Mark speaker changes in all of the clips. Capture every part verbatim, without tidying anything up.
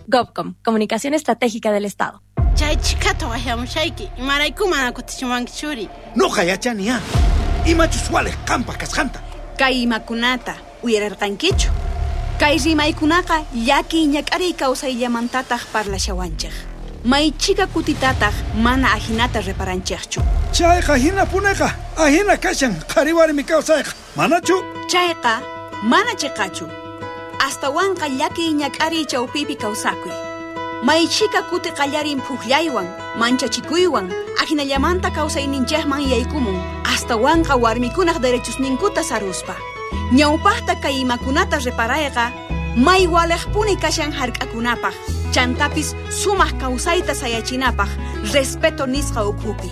Speaker 1: GovCom, Comunicación Estratégica del Estado.
Speaker 2: Chay chikata waqyamushayki, imarayku mana kutichiwanki churi.
Speaker 3: Noqa yachaniya, imachus waliq qampaq kasqanta.
Speaker 4: Kay imakunata uyararqankichu. Kay rimaykunaqa llakiy ñak'ariy kawsayllamantataq parlashawanchik. Maychika kutitataq mana ajinata reparanchikchu.
Speaker 3: Chayqa hinapuneqa, ajina kashan qhari warmi kawsayqa, manachu?
Speaker 4: Chayqa mana chiqachu. Astawanqa llakiy ñak'ariy chawpipi kawsakuy. Maychika kuti qallarin phuqllaywan, manchachikuywan, ajinallamanta kawsayninchikman yaykumun, astawanqa warmikunaq derechosninkuta saruspa. Ñawpaqta kay imakunata reparayqa, may waliqpuni kashan hark'akunapaq, chantapis sumaq kawsayta sayachinapaq, respeto nisqa ukhupi.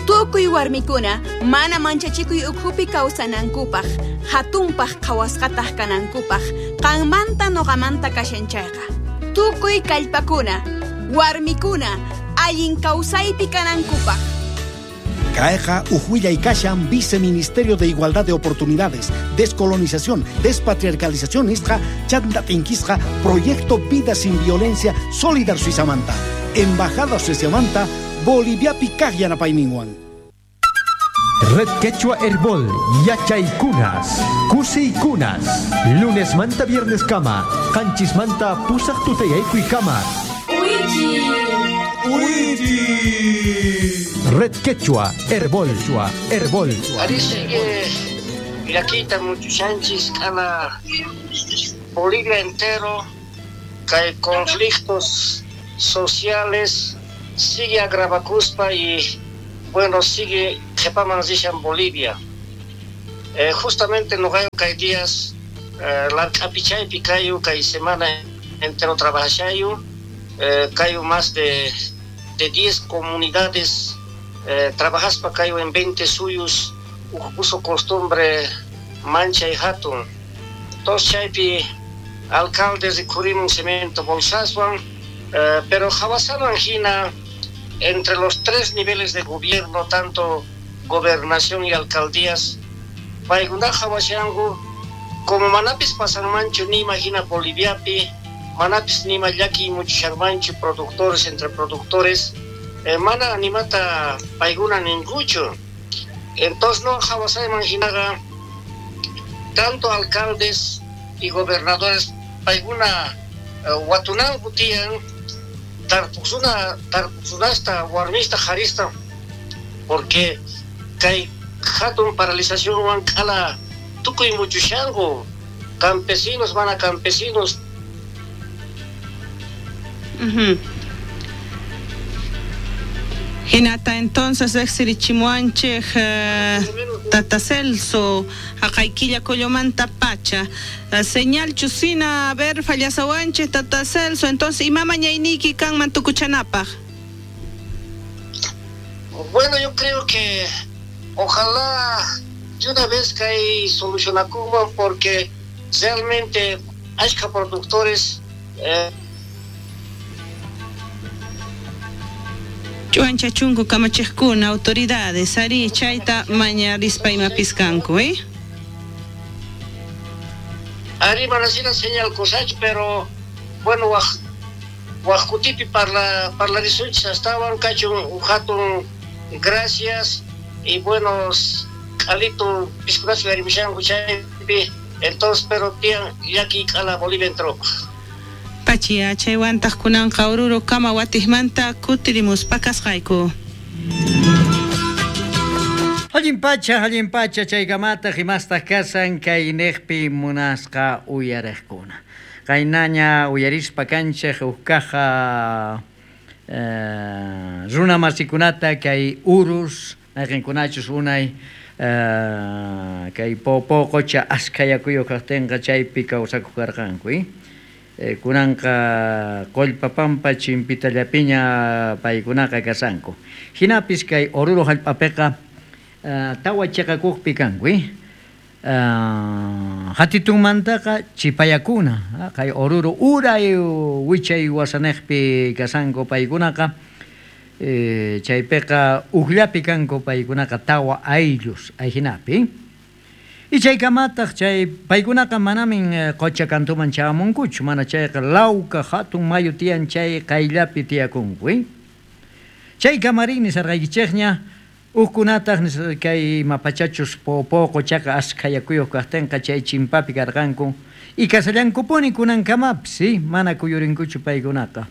Speaker 4: Tukuy warmikuna mana manchachikuy ukhupi kawsanankupaq, hatunpaq qhawasqataq kanankupaq, qanmanta noqamanta kashan chayqa. Tukuy kallpakuna, warmikuna, allin kawsaypi kanankupaq.
Speaker 3: Kayqa uj kashan Viceministerio de Igualdad de Oportunidades, Descolonización, Despatriarcalización nisqa, chanta tinkisqa, Proyecto Vida Sin Violencia, Solidar Suizamanta, Embajada Suiziamanta, Boliviapi kaq yanapayninwan.
Speaker 5: Red Quechua Herbol, Yachaykunas, Kusiykunas, lunes manta viernes kama, qanchis manta pusaq tutayaykuy kama.
Speaker 6: Uichi.
Speaker 5: Uichi. Red Quechua Herbol, Herbol.
Speaker 7: Ari sigue llakita muchushanchis k'ala Bolivia entero, que hay conflictos sociales, sigue agravakuspa y bueno, sigue qhepaman rishan Bolivia. Eh, justamente noqayu kay días eh, lark'apichaypi kayu kay semana entero trabajashayu, eh, kayu más de de diez comunidades, eh, trabajaspa kayu en veinte suyus, uso costumbre mancha y hatun. Entonces chaypi alcaldes rikhurimun cemento bolsaswan, eh, pero hawasaman hina entre los tres niveles de gobierno, tanto gobernación y alcaldías, paykunaqa hawashanku como manapis pasanmanchu ni imagina Boliviapi, manapis nima llaki muchishanmanchu productores entre productores, eh, mana animata paykuna ninkuchu. Entonces no hawasayman hinaqa tanto alcaldes y gobernadores paykuna eh, watunanku tiyan tarpuqsuna tarpuqsunasta warmista qharista, porque kay hatun paralizacionwan k'ala tukuy muchushanku campesinos mana campesinos.
Speaker 8: Uh-huh. Hinata entonces riqsirichimuwanchik uh, Tata Celso haqaykilla Collomanta pacha uh, señal chusina a ver fallasawanchik Tata Celso, entonces ima mañayniyki kanman tukuchanapaq.
Speaker 7: Bueno, yo creo que ojalá de una vez que hay solucionakuman, porque realmente hay productores eh,
Speaker 8: Chuancha chunku kamachiqkuna autoridades ari chayta mañarispa imapiskanku, eh?
Speaker 7: Ari manasina señal cosach, pero bueno, waj wajkutipi parla parlarisunchis astawan kachun hatun gracias y bueno k'alito piskunas yarimishanku chaypi, entonces pero tiyan llaki k'ala Bolivia entró.
Speaker 8: Pachia chaywantaq kunanqa Oruro kama watijmanta kutirimuspa kasqayku.
Speaker 9: Allin pacha, allin pacha chaykamataq imastaq kasan kay niqpi munasqa uyariqkuna. Qaynaña uyarispa kanchik huk kaja eh, runa masikunata kay urus mayqinkunachus unay eh, kay popo qocha askayakuyuq kaqtinqa chaypi kawsakuq karqanku, eh? Eh, kunanqa Qollpapampa chimpitallapiña paykunaqa kasanku. Hinapis kay Oruro hallp'apiqa uh, tawa chiqakuqpi kanku, eh? Uh, hatitunmantaqa chipayakuna, kay Oruro uray wichay wasaniqpi kasanku paykunaqa, eh, chaypiqa ukllapi kanku paykunaqa tawa ayllus ayhinapi. Y chaykamataq chay paykunaqa manamin qocha kantuman chamunkuchu, mana chayqa Lauca hatun mayu tiyan chay qayllapi tiyakunku. Eh? Chay kamarin nisarqaykichikña hukkunataq kay mapachachus Poopó qochaqa askha yakuyuq kaqtinqa chay chimpapi karqanku y kasallankupuni kunankamapis, ¿sí? Mana kuyurinkuchu paykunaqa.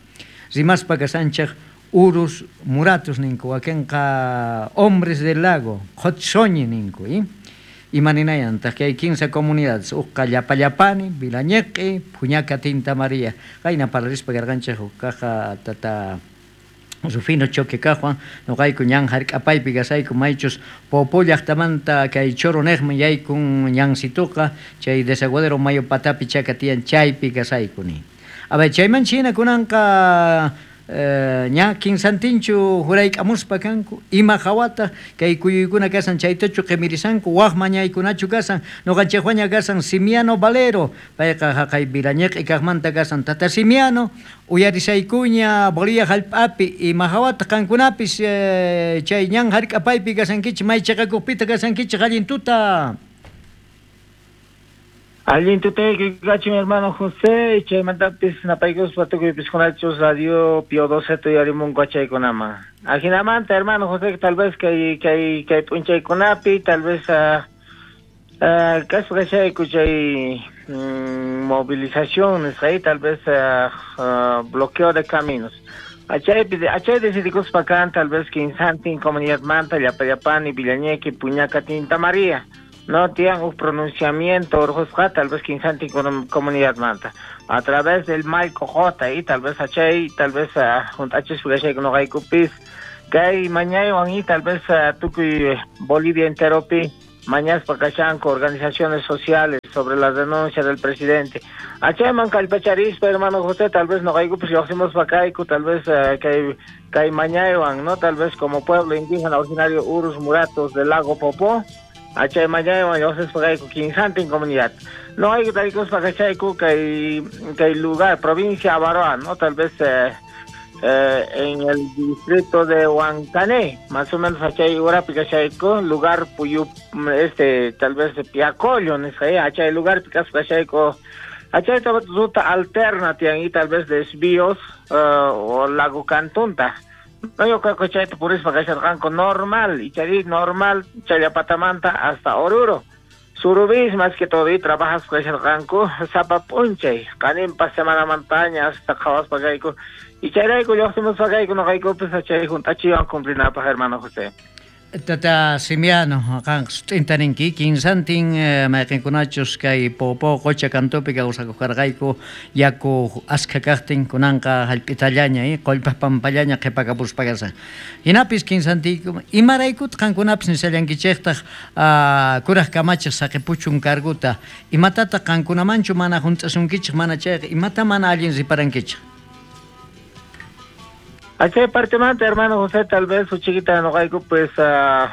Speaker 9: Rimaspa kasanchik urus muratus ninku, wakinqa hombres del lago, qhotsoñi ninku, ¿eh? Imaninayantaq kay kinsa comunidades, uqqa Llapallapani, Vilañeq'i, Puñaca Tinta María. Qayna parlarispa karqanchik hukkaqa tata Rufino Choque kaqwan, noqayku ñan hark'apaypi kasayku maychus Poopó llaqtamanta kay Choro niqman yaykun ñansituqa chay desaguadero mayu patapi chaka tiyan chaypi kasayku ni. A ver, chayman china kunanqa eh, ña kinsantinchu jurayk'amuspa kanku, ima hawataq kay kuyuykuna kasan chaytachu qimirisanku, waq mañaykunachu kasan, noqanchikwaña kasan Simiano Valero, payqa haqay Vilañeq'i kaqmanta kasan tata Simiano, uyarisaykuña Bolivia hallp'api, ima hawataq qankunapis eh, chay ñan hark'apaypi kasankichik, may chiqakuqpita kasankichik, allin tuta.
Speaker 6: Allin tutayki kachun hermano José, chaymantapis napaykuspa tukuypis kunachus radio Pio doce tuyarimunku achaykunaman. Ajinamanta hermano José, tal vez kay kay kay p'unchaykunapi, tal vez uh, uh, kaspa kachayku chay mm, movilización nisqay, tal vez uh, uh, bloqueo de caminos. Achaypi achay decidikuspa kan tal vez kinsantin comunidadmanta Llapallapani, Villañequi, Puñaca, Tinta María. No tienen un pronunciamiento orjosqa tal vez quinsanti comunidad manta a través del Malco J y tal vez achay tal vez junto a Chespugashay no haykupis kay mañaywan y tal vez tukuy Bolivia enteropi mañaspa kashanku organizaciones sociales sobre la denuncia del presidente. Achayman kallpacharispa hermano José, tal vez no haykupis lluqsimos pakayku, tal vez kay kay mañaywan, no, tal vez como pueblo indígena originario Urus Muratos del lago Popó. Achay mañaywan lluqsispa kayku kinsantin comunidad. No hay que tarikuspa kachayku kay kay lugar provincia Abaroa, no, tal vez eh, eh, en el distrito de Huancané, más o menos achay urapi kachayku, lugar Puyu, este tal vez Piacollo, nisqa, achay lugar pikaspa kachayku. Achay ruta alterna tiyan y tal vez desvíos uh, o lago Cantunta. No, yo creo que chayta purispa kasharqanku normal, y chay normal Challapatamanta hasta Oruro. Surubis más que todo y trabajas kasharqanku sapa p'unchay, qaninpa semana montaña hasta qhawaspa kayku. Y chayrayku lluqsimuspa kayku noqaykupis chay junt'achiwan cumplinapaq hermano José.
Speaker 9: Tata Simiano, qan sut'inta ninki, kinsantin mayqinkunachus kay Poopó qocha kantupi kawsakuq karqayku yaku askha kaqtin kunanqa hallp'itallaña, eh, qullpa pampallaña qhipakapuspa kasan. Hinapis kinsantiyku, imaraykutaq qankunapis nisallankichiktaq kuraq kamachiq saqipuchun carguta, imatataq qankunamanchu mana hunt'asunkichik, mana chayqa, imata mana allin riparankichik?
Speaker 6: Achay partemanta hermano José, tal vez huchiquita noqayku pues uh,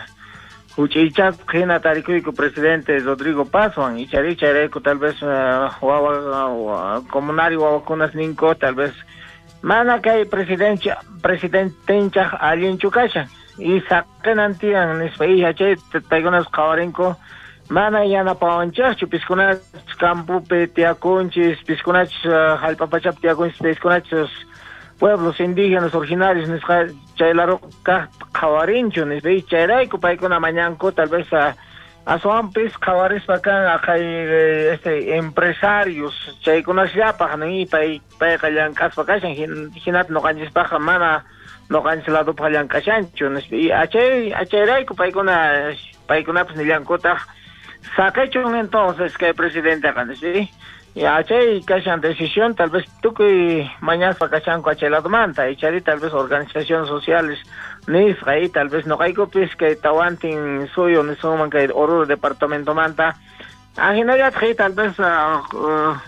Speaker 6: huch'ichaq hina tarikuyku presidente Rodrigo Pazwan ichari chayrayku tal vez uh, wawa uh, comunario wawakunas ninku tal vez mana kay presidente presidentenchaq allinchu kashan y saqinan tiyan nispa y achay paykunas qhawarinku mana yanapawanchikchu piskunachus campopi tiyakunchis piskunachus uh, hallp'a pachapi tiyakunchis piskunachus pueblos indígenas originarios nisqa chaylaro kaq qhawarinchu nispa y chayrayku paykuna mañanku tal vez uh, aswanpis qhawarispa kan aqhay este empresarios chaykunasllapaq ni pay payqa llank'aspa kashan hinata noqanchispaqqa mana noqanchis ladupaq llank'ashanchu nispa y achay achayrayku paykuna paykunapis nillankutaq saqichun entonces kay presidenteqa nispa. Y achay kashan decisión tal vez tukuy mañaspa kashanku achay ladomanta y chari tal vez organizaciones sociales nisqa y tal vez noqaykupis kay tawantin suyu nisunman kay Oruro departamento manta ajinallataq tal vez uh, uh,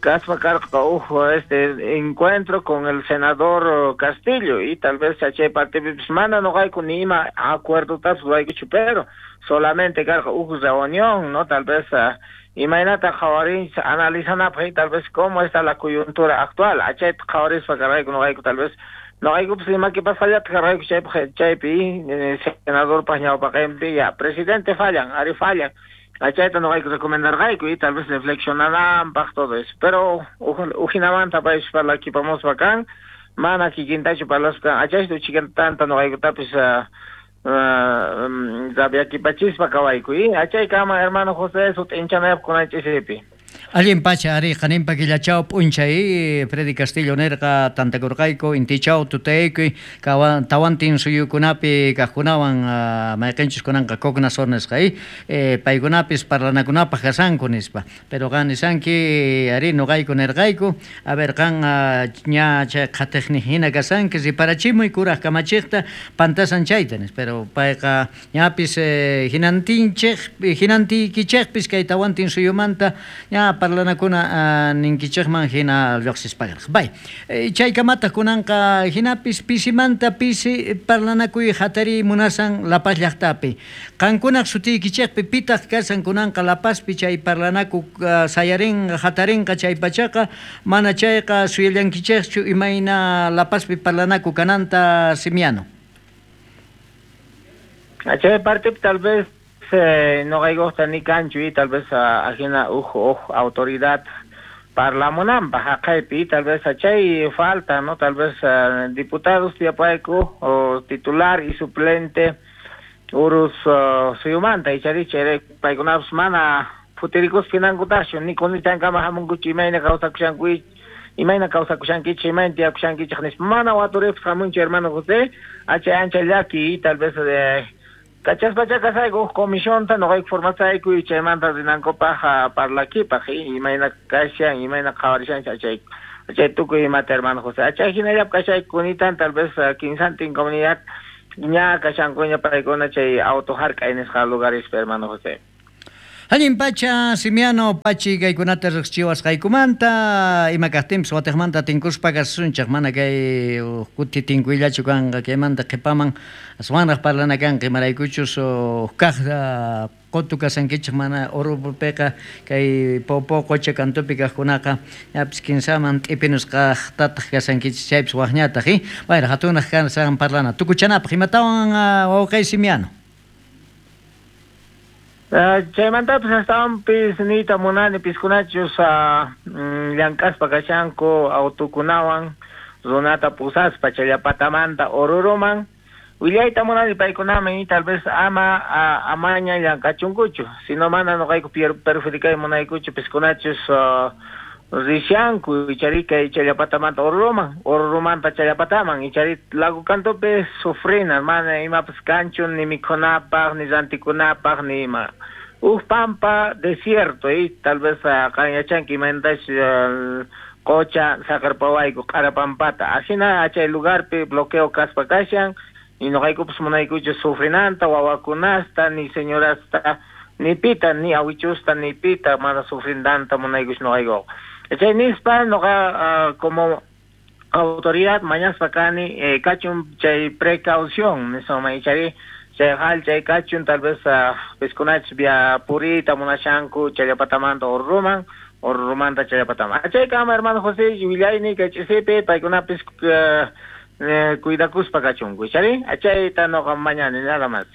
Speaker 6: kaspa karqa uj este encuentro con el senador Castillo y tal vez achay partipipis mana noqayku ni ima acuerdotas ruwaykuchu pero solamente karqa uj reunión, no, tal vez uh, imaynata qhawarinchis analizanapaq tal vez cómo está la coyuntura actual achayta qhawarispa karqayku noqayku tal vez noqaykupis imakipasqallataq karqayku chaypaq chaypi senadorpaq ñawpaqinpi ya presidente fallan ari fallan Achayta noqayku recomendarqayku y tal vez reflexionananpaq todo eso. Pero ujinamanta paypis parlakipamuspa kan, mana kikintachu parlaspa kan, achayta uchikantanta noqaykutapis uh, uh, rabiakipachispa kawayku y achaykama hermano José sut'inchanaypaq kunan ch'isipi.
Speaker 9: Allin pacha ari qaninpa killachaw p'unchay Freddy Castillo nerqa tantakurqayku intichaw tutaykuy tawantin suyukunapi kaqkunawan uh, mayqinchus kunanqa Cocnasor nisqa eh, paykunapis parlanakunapaq kasanku nispa pero qan nisanki ari noqayku nerqayku a ver qan uh, ña chay qhatiqni hina kasanki riparachimuy kuraq kamachiqta pantasan chayta nispa pero payqa ñapis eh, hinantinchej hinantiykichejpis kay tawantin suyumanta ña parlanakuna uh, ninkichejman hina lluqsispakarqa. Bay, eh, chaykamataq kunanqa hinapis pisimanta pisi parlanakuy hatariy munasan La Paz llaqtapi. Qankunaq sutiykichejpi pitaq kasan kunanqa La Pazpi chay parlanaku uh, sayarinqa hatarinqa chay pachaqa mana chayqa suyallankichejchu imayna La Pazpi parlanaku kananta Simiano.
Speaker 6: Chay parte tal vez Eh, no gusta ni cancho y tal vez uh, ajena uj uj autoridad parlamunanpaq haqaypi tal vez achay falta no tal vez uh, diputados tiapayku o titular y suplente urus uh, suyumanta ichari chay paykunapas mana futirikus finankutachu ni kunichankama hamunkuchu imayna kawsakushanku imayna kawsakushankichik imayna tiyakushankichik nispa mana waturipis hamunchu hermano José achay ancha llaki y tal vez eh, Kachaspacha kasayku comisión ta noqayku formasayku y chaymanta rinankupaq parlakipaq imayna kashan imayna qhawarishanchik achay achay tukuy imata hermano José achay hinallap kashayku kunitan tal vez kinsantin comunidad ña kashankuña paykuna chay auto hark'ay nisqa lugarespi hermano José.
Speaker 9: Allin pacha Simiano pachi kaykunata riqsichiwasqaykumanta ima kaqtinpis watiqmanta tinkuspa kasunchaq mana kay kuti tinkuyllachu kanqa kaymanta qhipaman aswanraq parlana kanqa imaraykuchus kaq qotu kasankichik mana Oruropiqa kay Popo qocha kantupi kaqkunaqa ñapis kinsaman t'ipinusqaqtataq kasankichik chaypis waqñataq eh wayra hatunaq kasan parlana tukuchanapaq imatawan wawqay Simiano.
Speaker 6: Uh, chaymantapis astawanpis niyta munani piskunachus uh, llank'aspa kashanku autukunawan runata pusaspa challapatamanta Oruroman willayta munani paykunaman y tal vez ama uh, amaña llank'achunkuchu sino mana noqayku perjudicay munaykuchu piskunachus uh, rishanku ichari kay challapatamanta Oruroman Oruromanta challapataman ichari lago kantupi sufrina mana imapas kanchu ni mikhunapaq ni rantikunapaq ni ima uj pampa desierto y tal vez uh, qan yachanki imaynatash uh, qocha saqarpawayku q'ara pampata ajina chay lugarpi bloqueo kaspa kashan y noqaykupas munaykuchu sufrinanta wawakunasta ni señorasta ni pita ni awichusta ni pita mana sufrindanta munaykuchu noqaykuqa. Chay nispa noqa uh, como autoridad mañaspa kani eh, kachun chay precaución nisoma ichari chay hal chay kachun tal vez uh, piskunach via purita munashanku challapatamanta Oruroman Oruromanta challapataman. Chay kama hermano José willayni kay ch'isipi paykunapis uh, eh, cuidakuspa kachunku ichari achayta noqa mañani nada más.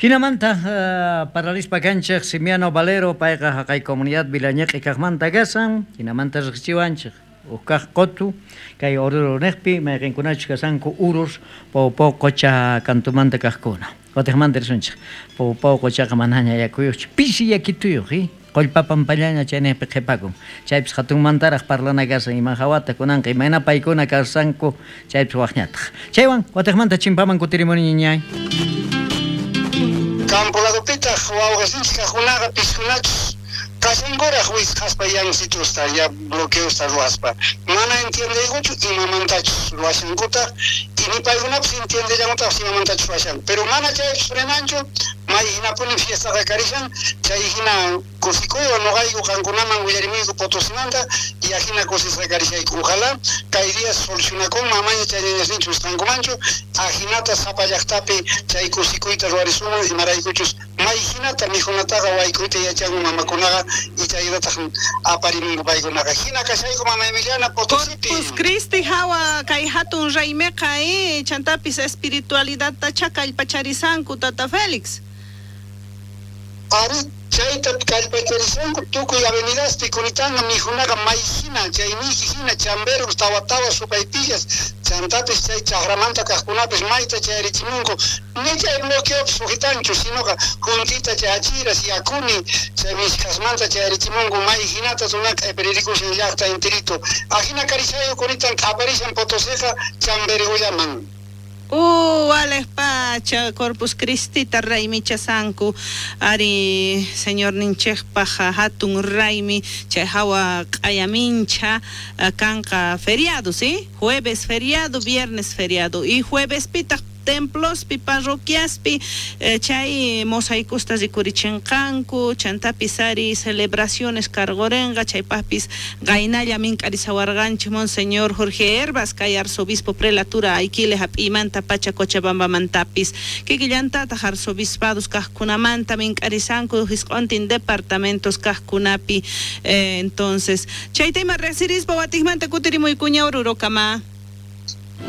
Speaker 9: Hinamanta uh, paralispa kanchej Simiano Valero payqa haqay comunidad Vilañeq'i kaqmanta kasan hinamanta riqsichiwanchik uj qotu kay Oruro neqpi mayqinkunachus kasanku urus Popo qocha kantumanta kaqkuna watiqmanta risunchik Popo qochaqa manaña yakuyuqchu pisi yakituyuq eh qollpa pampallaña chaynejpi qhipakun chaypis hatunmantaraq parlana kasan ima hawata kunanqa imayna paykuna kasanku chaypis waqñataq chaywan watiqmanta chimpaman kutirimuniñay ñay.
Speaker 10: Campo ladopitaq wawqasinchik kaqkunaqa piskunachus kashankuraq wisqaspa yansitusta ya bloqueosta ruwaspa mana entiendeykuchu imamantachus ruwashankutaq y ni paykunapis entiendellankutaqpis imamantachus ruwashanku pero mana chaypis frenanchu may hinapuni fiestaqa karishan chay hina kusikuywan noqayku qankunaman willarimuyku Potosimanta y ajina kusisqa karishayku ojalá kay día solucionakunman amaña chay ñañasninchus wisqankumanchu ajinata sapa llaqtapi chay kusikuyta ruwarisuman imaraykuchus may hinata mikhunataqa waykuyta yachanku mamakunaqa y chaytataq aparimunku paykunaqa hina kashayku mama Emiliana Potosipi.
Speaker 8: Corpus Christi hawa kay hatun raymiqa eh chantapis espiritualidadta chakallpacharisanku tata Félix.
Speaker 10: Ari Chayta kallpacharishanku tukuy avenidaspi kunitanga mijunaqa mayhina chay miji hina chamberus tawa tawa supaypillas chantapis chay chaqramanta kaqkunapis mayta chayarichimunku ni chay bloqueopis sujitanchu sinoqa juntita chay achiras yakuni chay mishkasmanta chayarichimunku may hinata runaqa q'ipiririkushan llaqta intirito ajina karishayu kunitan q'aparishan Potosiqa Chambergollaman.
Speaker 8: Uh, Alex Pacha, Corpus Christi, Raimi Chasanku, Ari, señor Ninchejpaja, Hatun Raimi, Chejawa, Ayamincha, Kanka, feriado, ¿sí? Jueves feriado, viernes feriado, y jueves pita templos pi parroquiaspi eh, chay mosaicostas rikurichinqanku chantapis ari celebraciones cargorenga chaypapis gainalla mink'arisawarqanchik monseñor Jorge Herbas kay arzobispo prelatura Aiquile hap'imanta pacha Cochabambamantapis kikillantataq arzobispados kaqkunamanta mink'arisanku hisq'untin departamentos kaqkunapi eh, entonces chayta ima riqsirispa watiqmanta kutirimuykuña Orurokama.